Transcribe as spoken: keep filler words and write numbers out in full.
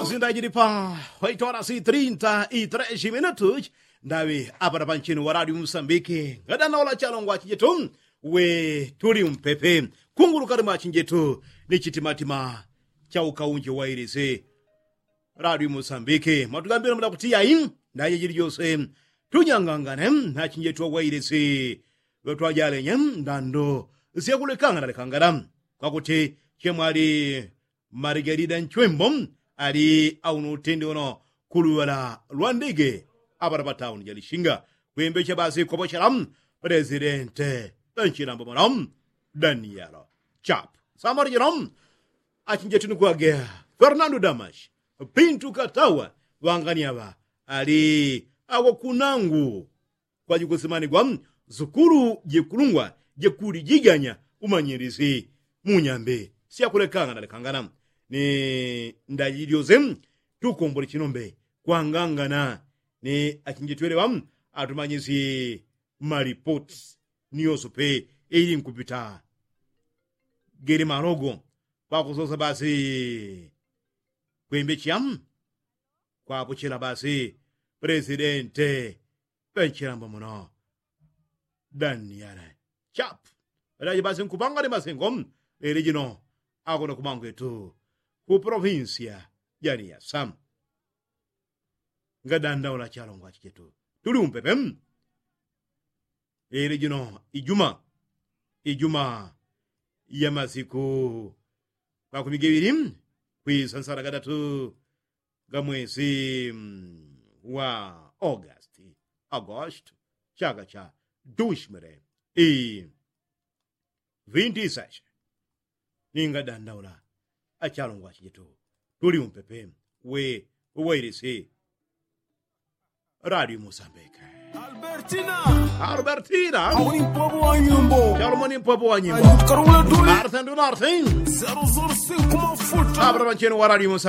Zindajilipa waitwala si trinta i tres minutu. Ndaŵi apata panchini wa radio musambiki ngadanaula chalongwa chijetu. We tuli mpepe kunguluka lima chinjetu ni chitimatima cha ukaunji wa ilisi radio musambiki matugambila mula kuti yai. Ndaje jili jose tunyangangane na chinjetu wa ilisi. Lotwajalenye ndando syakulekangana lekangana kwakuti chemwali marigalida nchwembo ali auno utende uno kuluŵala lwa ndege. Apata patauni jalishinga kwembecha basi kwapochela presidente nchilambo mwana danielo chap samari jino achinjetini kwage fernando damash pintu katawa ŵangani aŵa ali awakunangu kwajikusimanigwa sukulu jikulungwa jikulijiganya umanyilisi munyambe syakulekangana lekangana ni ndajilyoze tukombole chinombe kwangangana ni achinjitwelewa atumanyisi malipoti ni yosope ili nkupita gele malogo kwakusosa basi kwembecha kwapochela basi presidente penchilambo muno daniele chap ŵadaji basi nkupanga ni masengo leli jino akuno kumangwetu ku provinsia jani ya sam ngadandaula chalongwa chichetu tuli umpepe leli jino ijuma ijuma ya masiku makumi geŵili kwisansala gadatu ga mwesi wa august august chaka cha dushmere i vinti seshe ninga dandaula achalongwa chijetu tuli umpepe we wailisi radio musambike albertina albertina auni mpopo wa nyimbo charumoni mpopo wa nyimbo arsendu narsen zero zero sinku mafuta abra pancheni wa radio musambike